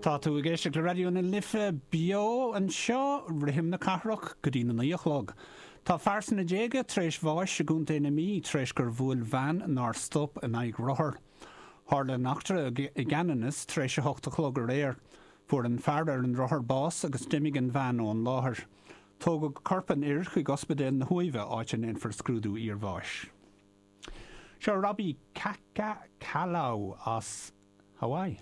Tá tú ag éisteacht le Raidió na Life beo anseo, rithim na cathrach, go dtí na 9 a chlog. Tá fear sna déaga tar éis bháis i gContae na Mí tar éis gur bhuail veain nár stop in aghaidh rothar. Tharla an eachtra i gCeanannas tar éis a hocht a chlog aréir. Fuair an fear ar an rothar bás agus d'imigh an veain ón láthair. Tógadh corp an fhir chuig Ospidéal na hUaimhe áit a ndéanfar scrúdú iarbháis. Seo Robbie Kaka Kalau as Hawaii.